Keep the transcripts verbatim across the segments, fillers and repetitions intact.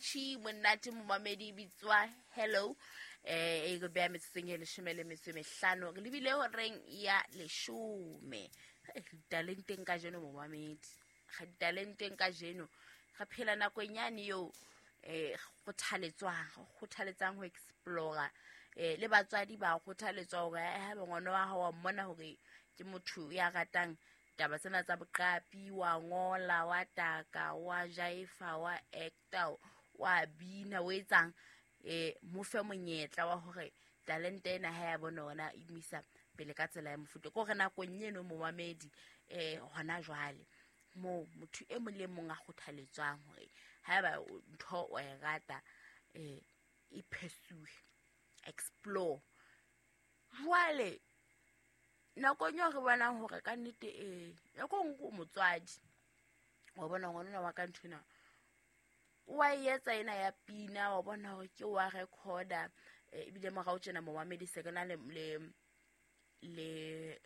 Catchy, monate momamedi, bitswa Hello. Eh, e go beya metsotsong e leshome le metso e mehlano, re lebile horeng ya leshome. Ditalenteng kajeno momamedi, ga ditalenteng kajeno re phela nakong yane eo eh kgothaletswang, kgothaletsang ho explore. Eh le batswadi ba kgothaletswa hore ha ngwana wa hao wa mmona hore ke motho ya ratang taba tsena tsa boqapi, wa ngola, wa taka, wa jaifa, wa actor, wa bina, o etsang, eh mo fe monyetla wa hore talente ena ha ya bona ona e misa pele ka tsela ya mofuta. Ko re nakong eno momamedi, eh hona jwale mo motho e mong le mong a kgothaletswang hore haeba ntho o e rata, eh e pursue, explore. Jwale nakong eo re bonang hore ka nnete, eh nako nngwe o motswadi wa bona ngwana wa ka nthwena wa etsa ena ya pina, wa bona hore ke wa recorder, ebile morao tjena momamedi se ke na le le le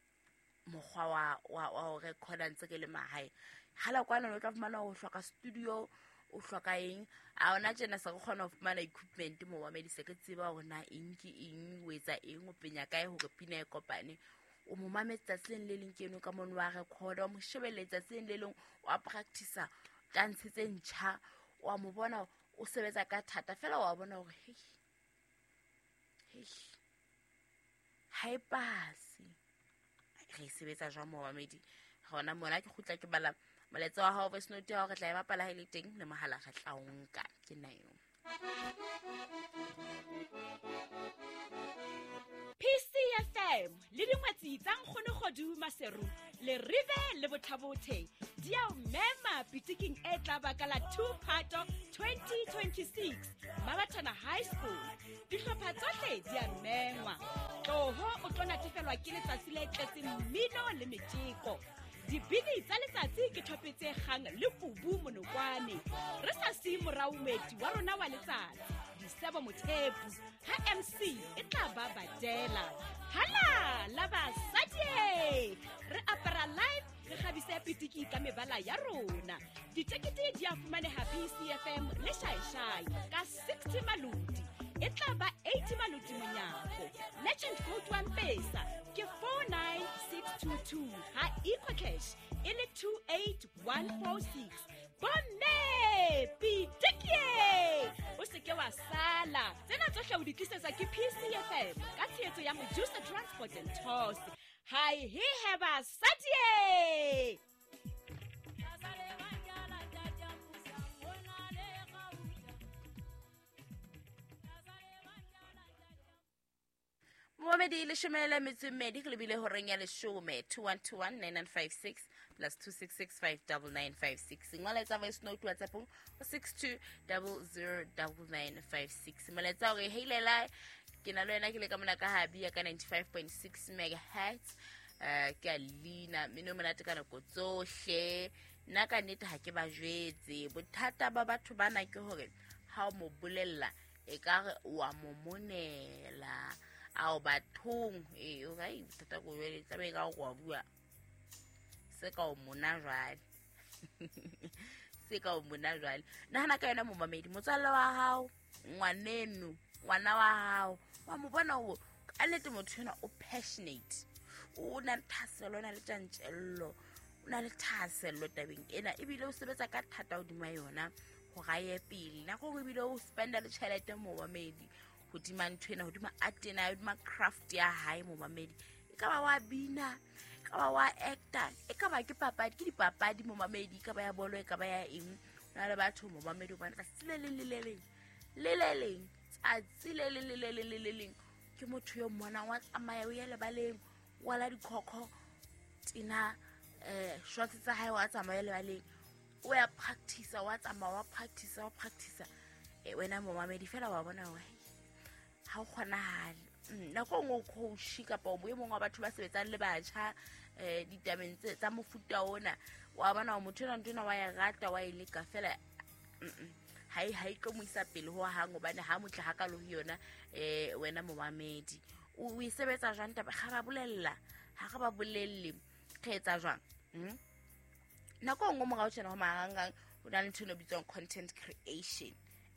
mokgwa wa wa wa recorder ntse ke le mahae. Hala kwana o tla fumana ho hloka studio, o hloka eng, a ona tjena se re kgona ho fumana equipment momamedi, se ke tseba hore na eng ke eng, o etsa eng, o penya kae hore pina e kopane. O mo mametse tsatsi le leng ke eno ka mono wa recorder, o mo shebelle tsatsi le leng wa practice dance tse ntjha, wa mo bona o sebetsa ka thata fela, wa bona hore hei hei ha e pase. Re sebetsa jwang momamedi? Hona mona ke kgutla ke bala molaetsa wa hao voice note ya hore re tla e bapala ha e le teng, le mohala re tla o nka. Ke nna eo. P C F M le dingwetsi tsa Nkgono Kgodu Maseru le Rive le Bothabothe di a o mema pitiking e tla baka la two Phato twenty twenty-six Mabathana High School. Dihlopha tsohle di a mengwa. Tloho o tlo natefelwa ke letsatsi le tletseng mmino le metjeko. Dibini tsa letsatsi ke thope tse kgang le kubu monokwane. Re sa siye morao moeti wa rona wa letsatsi, Disebo Mothepu, ha M C e tla ba badela. Hala la basadi, re apara live, re kgabise pitiki ka mebala ya rona. Ditekete di a fumaneha P C F M le Shaishai ka sixty maloti. E tla ba eighty maloti monyako. Legend code wa Mpesa ke four nine six two two, ha EcoCash e le two eight one four six. Bomme pitikie, o se ke wa sala. Tsena tsohle o di tlisetsa ke P C F M ka tshehetso ya Mojusa Transport and Tours. Hi he heba sadie. Momamedi leshome le metso e mmedi re lebile horeng ya leshome. Two one two one nine nine five six plus two six six five double nine five six. Ngola voice note WhatsApp ho six two double zero double nine five six. Molaetsa hore heilela ke na le wena ke le ka mona ka habi ya ka ninety-five point six megahertz. Eh ke a lina mino monate ka nako tsohle. Nna ka nnete ha ke ba jwetse. Bothata ba batho bana ke hore ha o mo bolella e ka re wa mo monela. Ao bathong eh o ga bothata go jwale tlabe ka go bua se ka o mona jwale. Se ka o mona jwale. Nahana ka yona momamedi, motswalle wa hao, ngwaneno, ngwana wa hao, wa mo bona hore ka nnete motho ena o passionate, o na le thahasello, o na le tjantjello, o na le thahasello tabeng ena, ebile o sebetsa ka thata hodima yona hore a ye pele. Nako nngwe ebile o spenda le tjhelete momamedi hodima ntho ena, hodima art ena, hodima craft ya hae momamedi. E ka ba wa bina, e ka ba wa actor, e ka ba ke papadi, ke dipapadi momamedi, e ka ba ya bolo, e ka ba ya eng. Ho na le batho momamedi hobane tsatsi le leng le le leng le le leng, tsatsi le leng le le leng le le leng ke motho yo mmonang wa tsamaya o ya lebaleng, wa la dikhokho tena, eh shorts tsa hae wa tsamaya lebaleng, o ya practice, wa tsamaya wa practice, wa practice. Eh wena momamedi fela wa bona hore ha o kgonahale. Nako nngwe o coach kapa o e mong wa batho ba sebetsang le batjha eh ditabeng tse tsa mofuta ona, wa bona hore motho ena ntho ena wa e rata, wa e leka fela, ha e ha e tlo mo isa pele ho hang, hobane ha motle hakalo ho yona. Eh wena momamedi o e sebetsa jwang taba? Ga ba bolella, ha re ba bolelle re etsa jwang? Nako nngwe morao tjena ho marangrang ho na le ntho e bitswang content creation.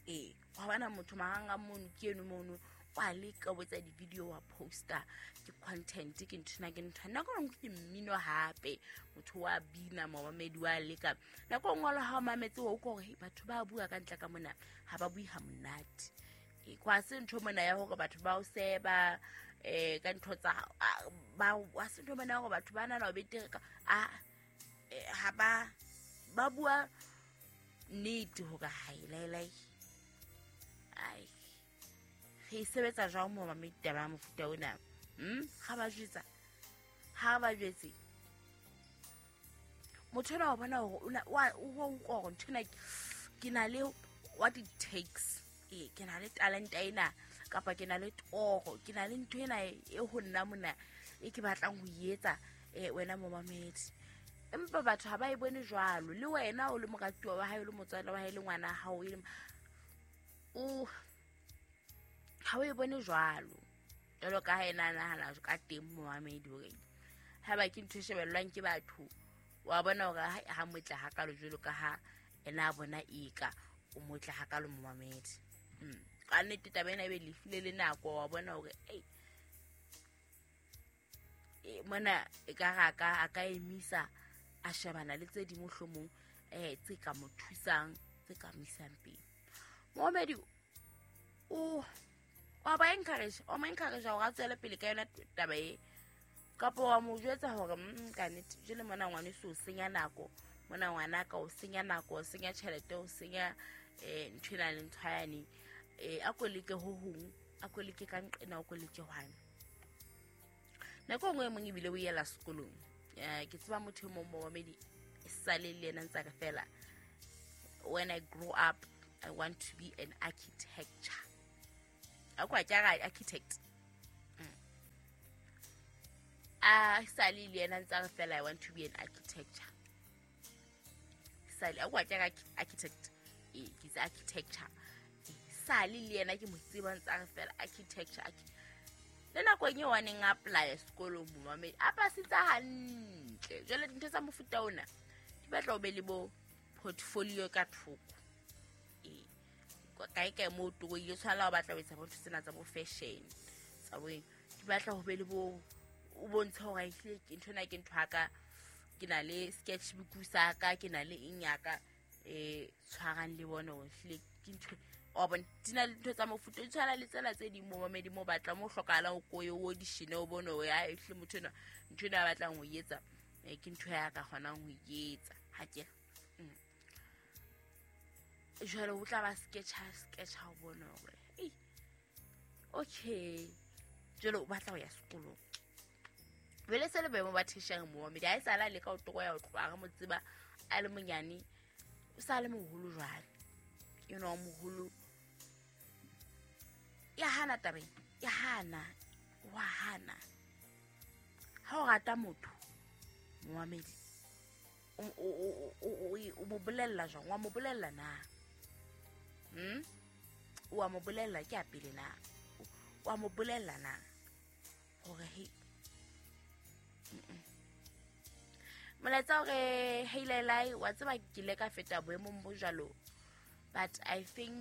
Ee, wa bona motho marangrang mono ke eno mono wa leka o etsa di-video wa poster, ke content, ke nthwena ke nthwana. Nako e nngwe ke mmino hape, motho wa bina, momamedi wa leka. Nako e nngwe le ha o mametse wa utlwa hore batho ba bua ka ntle ka mona ha ba bue ha monate. E kwa se ntho mona ya hore batho ba o seba eh ka ntho tsa ba wa se ntho mona ya hore batho ba nana o betere ka a ha ba ba bua nnete hore ha e lai lai. Ai, re sebetsa jwang mo mamedi taba ya mofuta ona? Hm, ha ba jwetsa, ha ba jwetse motho ena wa bona hore o wa o utlwa hore ntho ena ke na le what it takes. E ke na le talent ena kapa ke na le toro, ke na le ntho ena e ho nna mona e ke batlang ho etsa eh wena momamedi. Empa batho ha ba e bone jwalo. Le wena o le moratuwa wa hae, o le motswadi wa hae, le ngwana hao, e le o ha o e bone jwalo. Jwalo ka ha ena nahana ka teng momamedi hore ha ba ke ntho e shebellwang ke batho, wa bona hore ha ha motle hakalo jwalo ka ha ena a bona eka o motle hakalo momamedi. Mm. Ka nnete taba ena ebe lefile le nako, wa bona hore ei e mona e ka ra ka a ka emisa a shebana le tse di mohlomong eh tse ka mo thusang, tse ka mo isang pele. Momamedi o wa ba encourage, o mo encourage hore a tswele pele ka yona taba e, kapa wa mo jwetsa hore mm ka nnete jele mona ngwaneso o senya nako, mona ngwana ka o senya nako, o senya tjhelete, o senya eh ntho ena le ntho yane. Eh a ko leke ho hong, a ko leke ka nqena, o ko leke hwane. Nako nngwe e mong ebile o yela sekolong. Eh ke tseba motho e mong momamedi sale le yena ntse re fela, when I grow up I want to be an architecture. A kwa ke ra architect. Mm. A sale le yena ntse re fela I want to be an architecture. Sale a kwa ke ra architect. E ke tsa architecture. Sale le yena ke mo tseba ntse re fela architecture. Le nako e wa neng apply sekolong momamedi a pasitsa hantle. Jwale dintho tsa mofuta ona di batla o be le bo portfolio ka thoko. E kae kae mo to ile tshwana o batla ho etsa bo ntho tsena tsa bo fashion tsa bo di batla ho be le bo o bontsha hore ehlile ke ntho ena ke ntho ya ka, ke na le sketchbook sa ka, ke na le eng ya ka eh tshwarang le bona hore ehlile ke ntho o bona di na le ntho tsa mofuta di tshwana le tsena tse ding momamedi mo batla mo hlokahala o koye o audition o bone hore ha ehlile motho ena ntho ena a batlang ho etsa ke ntho ya ka kgonang ho etsa ha ke jwale o tla ba sketcha sketcha o bone hore ei okay jwale o batla ho ya sekolong. Jwale se le boemo ba theshang momamedi ha e sala le ka o toko ya ho tloha re mo tseba a le monyane, o sa le moholo jwale, you know moholo ya hana tabeng ya hana wa hana. Ha o rata motho momamedi o o o o mo bolella jwang? Wa mo bolella na? Hmm? Wa mo bolella ke a pele na? Wa mo bolella na hore he molaetsa hore hey lai wa tseba ke ile ka feta boemong bo jwalo, but I think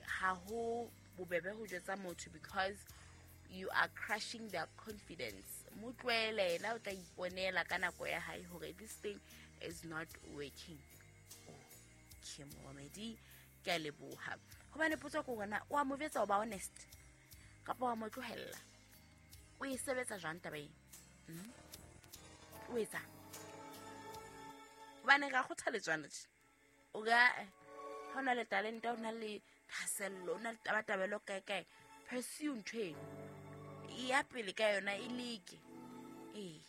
ha ho bobebe ho jwetsa motho because you are crushing their confidence. Mo tlohele yena o tla iponela ka nako ya hae hore this thing is not working. Okay momamedi, ke a leboha. Hobane potso ke hore na wa mo jwetsa o ba honest kapa wa mo tlohella? O e sebetsa jwang taba ena? Mm? O etsa hobane ra kgothaletswana tje o ka ha o na le talente, o na le thahasello, o na le tabatabelo kae kae, pursue ntho eno, e ya pele ka yona, e leke. Ee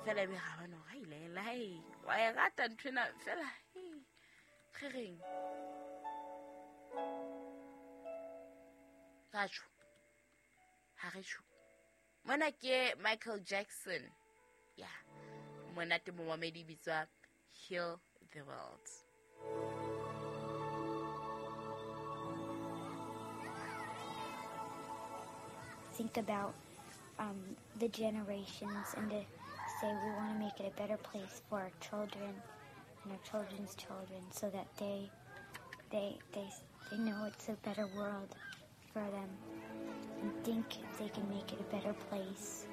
fela ebe ha bana hore ha ile lai wa e rata ntho ena fela re reng ra tjho ha re tjho. Mona ke Michael Jackson ya monate momamedi bitswa Heal the World. Think about um, the generations and to say we want to make it a better place for our children and our children's children so that they They, they, they know it's a better world for them and think they can make it a better place.